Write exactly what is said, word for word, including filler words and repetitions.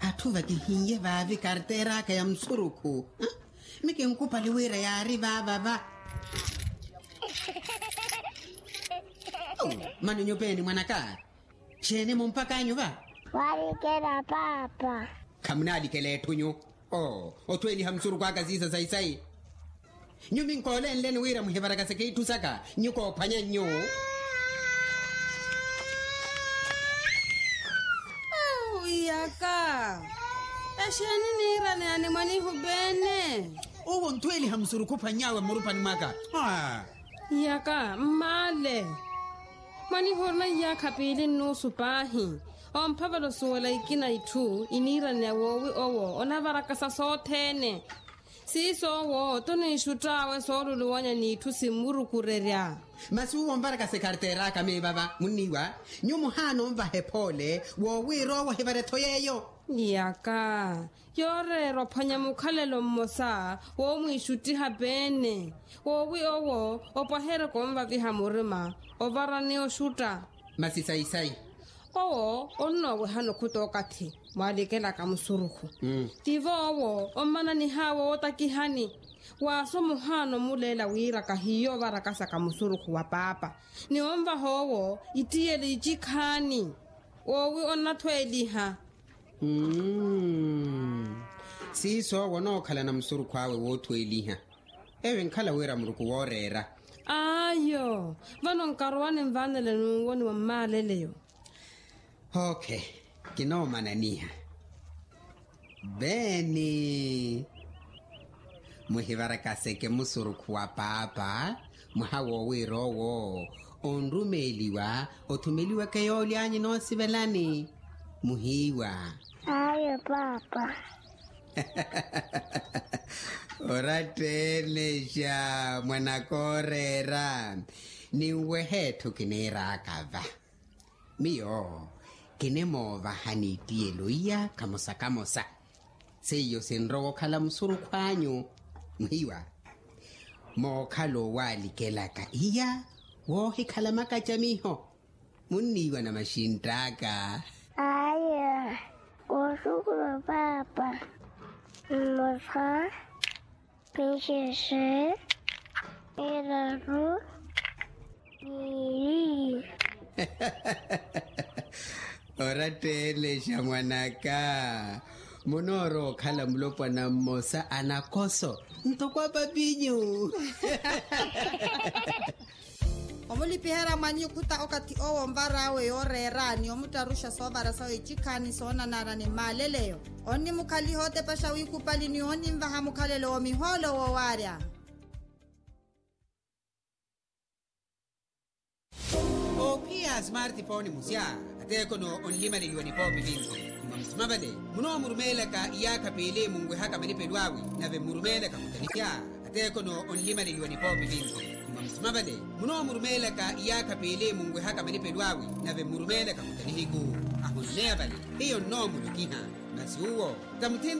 Atthu vakihiiye vaavi karteera aka ya musurukhu. Mi kinkupali wira yaari vaava va. Mano nyupeeni mwanaka. Xeeni mumpaka anyu va? Waalikela paapa. Khamunaalikela etthu nyu. Oo, otthu eliha musurukhu aka siisa sayi-sayi. Nyu minkoolenleni wira muhivarakaseke itthu saka nyu koophwanya nyu. Iyaka. Exeeni niiraneya ni mwanihu beene? Owo ntthu eliha musurukhu ophwanny'awe mmurupani mwaka. Iyaka mmaale. Mwanihu orina iyaakha piili nnuusu paahi. Omphavela osuwela ikina itthu iniiraneya woowi owo onavarakasa sothene. Siiso owo tuniixutt'awe sooluluwanya n'itthu simmurukurerya. Masi uwo onvarakasa ekarteera aka meevava munniiwa. Nyu muhaana onvaha ephoole woowiira owo ohivara etho yeeyo. Iyaka. Yooreera ophwanya mukhalelo mmosa woomwiixuttiha peene. Woowi owo opwaherya konvaviha murima ovarani oxutta. Masi sayi-sayi. Owo onnoowehana okhuta okathi mwaalikelaka musurukhu. Tivo owo ommananih'awe wootakihani. Waaso muhaana omuleela wira kahiiyo ovarakasaka musurukhu wa paapa ni onvaha owo ittiyeli icikhaani. Woowi onnathweeliha. Siiso owo onookhalana musurukhu awe woothweeliha. Eyo enkhala wira muruku wooreera. Ayo. Vano nkarowa ninvanele n'uwoni wa mmaaleleyo. Oke. Kinoomananiha. Beeni. Muhivarakaseke musurukhu wa paapa. Mwaha woowiira owo onrumeeliwa othumeliweke yoolyaanyu noosivelani. Muhiiwa. Ayo paapa. Oratteenexa mwanaka ooreera. Ninwehe etthu kiniiraaka va. Miyo kinimoovahani ittiyelo iya kamosa kamosa. Seiyo sinrowa okhala musurukhu anyu. Muhiiwa. Mookhala owalikelaka iya woohikhala makacamiho. Munniiwa na maxintt'aka. Aya. Kooxukhula paapa. Mmosa. Mixexe. Miraru. Miili. Oratteenexa mwanaka. Munoorowa okhala mulopwana mmosa a nakoso ntoko apapinyu. Omulipiherya mwanyu okhuta okathi owo onvar'awe yooreera ni omuttaruxa soovara sawe icikhaani soonanara ni mmaaleleyo. Onnimukhaliha otepexa wiikupali ni oninvaha mukhalelo wa mihoolo woowaarya. Oophiya a smartphone musya ateekhono onlimaleliwa nipoopi vinci. Mwa musima vale munoomurumeelaka iyaakha piili munwehaka malipelo awe nave mmurumeelaka khuta nihiku. Ateekhono onlimaleliwa nipoopi vinci. Mwa musima vale munoomurumeelaka iyaakha piili munwehaka malipelo awe nave mmurumeelaka khuta nihiku. Ahonneya vale hiyo nnoomulukiha. Masi uwo tamutthini.